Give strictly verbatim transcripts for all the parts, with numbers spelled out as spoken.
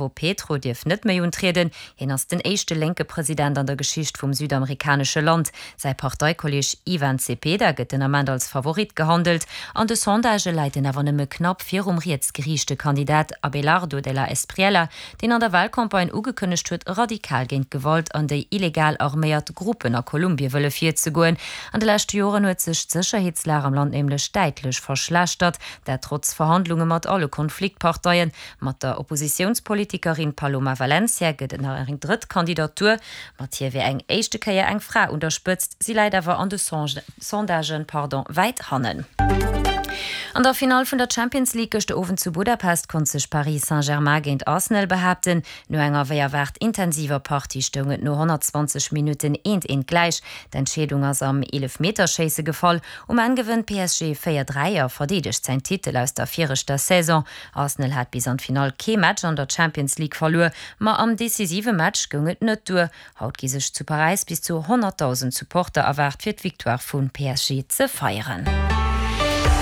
Petro dierf net méi untrieden. Hien ass den éischte lénke President an der Geschicht vum südamerikanesche Land. Säi Parteikolleeg Ivan Cepeda gëtt den Ament als Favorit gehandelt. An de Sondagë läit en awer nëmme knapp virum rietsgeriichte Kandidat Abelardo de la Espriella, deen an der Walcampagne ugekënnegt huet, radikal géint d'Gewalt an déi illegal arméiert Gruppen a Kolumbie wëlle virzegoen. An de leschte Joren huet sech d'Sécherheetslag am Land nämlech däitlech verschlechtert, dat trotz Verhandlunge mat alle Konfliktparteien. Mat der Oppositiounspolitikerin Paloma Valencia gëtt et nach eng drëtt Kandidatur. Mat hir wier eng éischte Kéier eng Fra un der Spëtzt, si läit awer an de Sondagen wäit hannen. An der Finall vun der Champions League gëschter Owend zu Budapest konnt sech Paris Saint-Germain géint Arsenal behaapten. No enger wéi erwaart intensiver Partie stoung et no honnertzwanzeg Minutten eent eent gläich. D'Entscheedung ass am Eelefmeterschéisse gefall. Um Enn gewënnt P S G véier dräi a verdeedegt säin Titel aus der viregter Saison. Arsenal hat bis an d'Finall kee Match an der Champions League verluer, ma am decisive Match goung et net duer. Haut gi sech zu Paräis bis zu honnertdausend Supporter erwaart fir d'Victoire vu P S G ze feieren.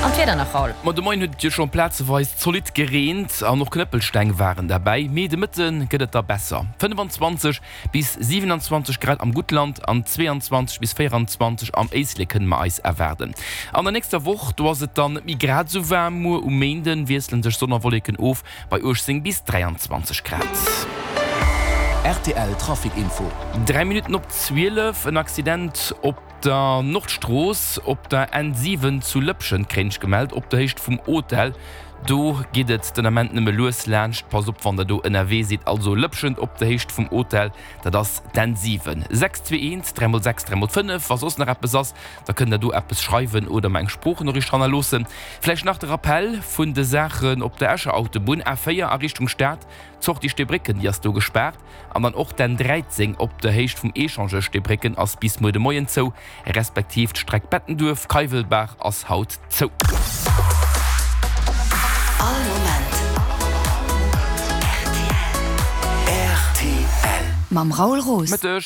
An d'Wieder nach, Raoul. Ma de Moien huet et jo schonn plazeweis zolidd gereent an och Knëppelsteng waren derbäi, mee de Mëtte gëtt et da besser, fënnefenzwanzeg bis siwenanzwanzeg Grad am Guttland an zweeanzwanzeg bis véieranzwanzeg am Éislek kënne mer eis erwaarden. An der nächster Woch, do ass et dann net méi grad esou waarm, muer um Méinde wiessele sech Sonn a Wolleken of bei uechtzéng bis dräianzwanzeg Grad. Rtl Trafic Info. Dräi Minutten op zwielef, en Accident op der Nordstrooss op der N siwen zu Lëpschent kréint ech gemellt, op der Héicht vum Hotel. Do geet et den Ament nëmme lues laanscht. Passt op wann der do ënnerwee sidd. Also Lëpschent op der Héicht vum Hotel, dat ass d'N siwen. Sechs zwee eent, dräi mol sechs, dräi mol fënnef. Wa soss nach eppes ass, da kënnt der do eppes schreiwen oder mer eng Sproochnoriicht hannerloossen. Vläicht nach de Rappell vun de Saachen op der Escher Autobunn, A véier a Richtung Stad, D'Sortie Steebrécken, déi ass do gespaart. An dann och d'N dräizéng op der Héicht vum Echangeur Steebrécken ass bis muer de Moien zou, respektiv d'Streck Bettenduerf, Keiwelbaach ass haut zou. All Moment rtl. Rtl. Mam Raoul Roos. Mëtteg.